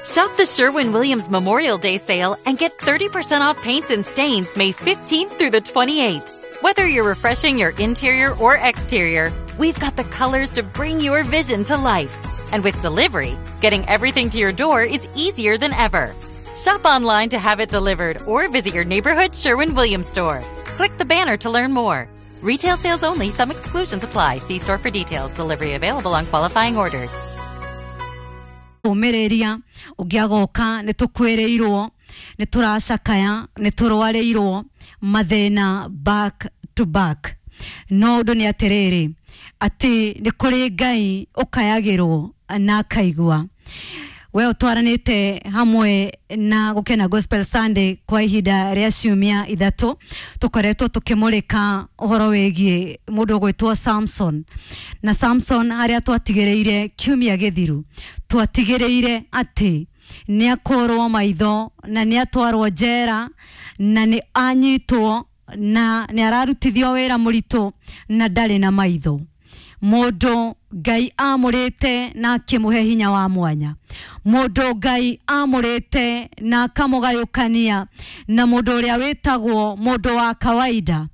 Shop the Sherwin Williams Memorial Day sale and get 30% off paints and stains May 15th through the 28th. Whether you're refreshing your interior or exterior, we've got the colors to bring your vision to life. And with delivery, getting everything to your door is easier than ever. Shop online to have it delivered or visit your neighborhood Sherwin Williams store. Click the banner to learn more. Retail sales only, some exclusions apply. See store for details. Delivery available on qualifying orders. Ũmĩrĩria ũngĩ agoka nĩ tũkwĩrĩirwo nĩ tũracakaya nĩ tũrwarĩirwo mathĩna back to back. No ũndũ nĩ atĩrĩrĩ, atĩ nĩ kũrĩ Ngai ũkayagĩrwo na akaigua. We ũtwaranĩte hamwe na Gũkena Gospel Sunday kwa ihinda rĩa ciumia 3, tũkoretwo tũkĩmũrĩka ũhoro wĩgiĩ mũndũ ũgwĩtwo Samson. Na Samson harĩa twatigĩrĩire kiumia gĩthiru, twatigĩrĩire atĩ nĩ akũrwo maitho na nĩ atwarwo njera na nĩ anyitwo na nĩ ararutithio wĩra mũritũ na ndarĩ na maitho. Mũndũ Ngai amũrĩte na akĩmũhe hinya wa mwanya, mũndũ Ngai amũrĩte na akamũgayũkania na mũndũ ũrĩa wĩtagwo mũndũ wa kawaida,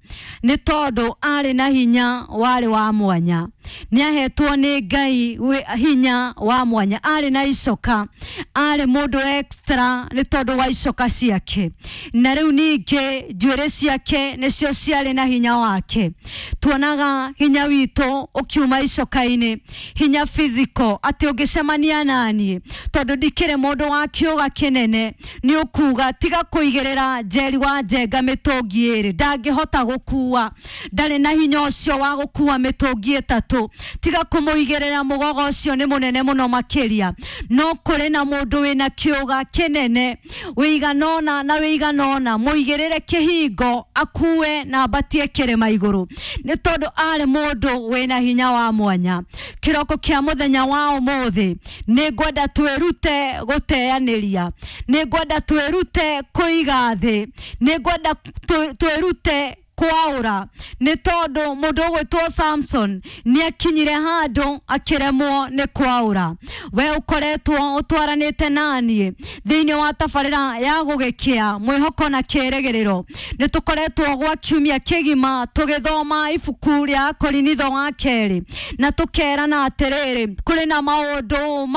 nĩ tondũ arĩ na hinya warĩ wa mwanya. Nĩ ahetwo nĩ Ngai hinya wa mwanya, arĩ na icoka, arĩ mũndũ extra nĩ tondũ wa icoka ciake. Na rĩu ningĩ njuĩrĩ ciake nĩcio ciarĩ na hinya wake. Tuonaga hinya witũ ũkiuma icoka-inĩ, hinya physical, atĩ ũngĩcemania naniĩ tondũ ndikĩrĩ mũndũ wa kĩũga kĩnene, nĩ ũkuga tiga kũigĩrĩra Njeri wa Njenga mĩtũngi 2, ndangĩhota gũkua, ndarĩ na hinya ũcio wa gũkua mĩtũngi 3, tiga kũmũigĩrĩra mũgogo ũcio nĩ mũnene mũno makĩria. No kũrĩ na mũndũ wĩna kĩũga kĩnene wĩiganona na wĩiganona, mũigĩrĩre kĩhingo akue na ambatie kĩrĩma igũrũ, nĩ tondũ arĩ mũndũ wĩna hinya wa mwanya. Kĩroko kĩa mũthenya wa ũmũthĩ nĩ ngwenda twĩrute gũteanĩria, nĩ ngwenda twĩrute kũiga thĩ, nĩ ngwenda twĩrute kwaũra, nĩ tondũ mũndũ ũgwĩtwo Samson nĩ akinyire handũ akĩremwo nĩ kwaũra. We ũkoretwo ũtwaranĩte naniĩ thĩinĩ wa tabarĩra ya gũgĩkĩa mwĩhoko na kĩrĩgĩrĩro, nĩ tũkoretwo gwa kiumia kĩgima tũgĩthoma ibuku rĩa Korinitho wa 2, na tũkerana atĩrĩrĩ, kũrĩ na maũndũ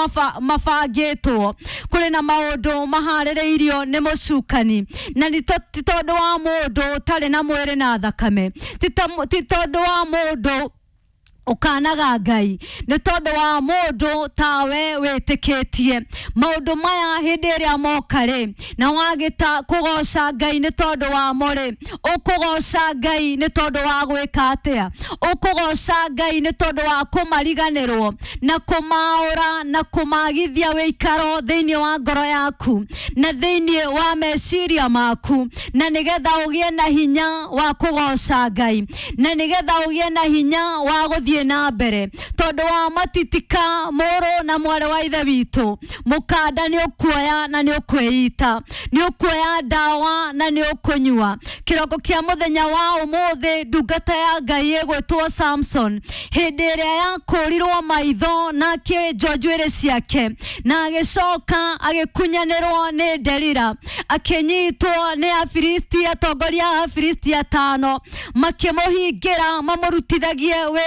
mabangĩtwo, kũrĩ na maũndũ maharĩrĩirio nĩ mũcukani, na ti tondũ wa mũndũ ũtarĩ na mwĩrĩ na thakame, ti tondũ wa mũndũ ũkanaga Ngai, nĩ tondũ wa mũndũ tawe wĩtĩkĩtie maũndũ maya hĩndĩ ĩrĩa moka rĩ, na wagĩta kũgoca Ngai nĩ tondũ wamo rĩ, ũkũgoca Ngai nĩ tondũ wa gwĩka atĩa? Ũkũgoca Ngai nĩ tondũ wa kũmariganĩrwo na kũmaũra na kũmagithia wĩikaro thĩinĩ wa ngoro yaku na thĩinĩ wa meciria maku, na nĩgetha ũgĩe na hinya wa kũgoca Ngai, na nĩgetha ũgĩe na hinya wa gũthiĩ na mbere, tondũ wa matitika mũrũ na mwarĩ wa ithe witũ, mũkanda nĩ ũkuoya na nĩ ũkwĩita, nĩ ũkuoya ndawa na nĩ ũkũnyua. Kĩroko kĩa mũthenya wa ũmũthĩ, ndungata ya Ngai ĩgwĩtwo Samson, hĩndĩ ĩrĩa yakũrirwo maitho na akĩenjwo njuĩrĩ ciake na agĩcoka agĩkunyanĩrwo nĩ Delila, akĩnyitwo nĩ Afilisti, atongoria a Afilisti 5 makĩmũhingĩra mamũrutithagie wĩra.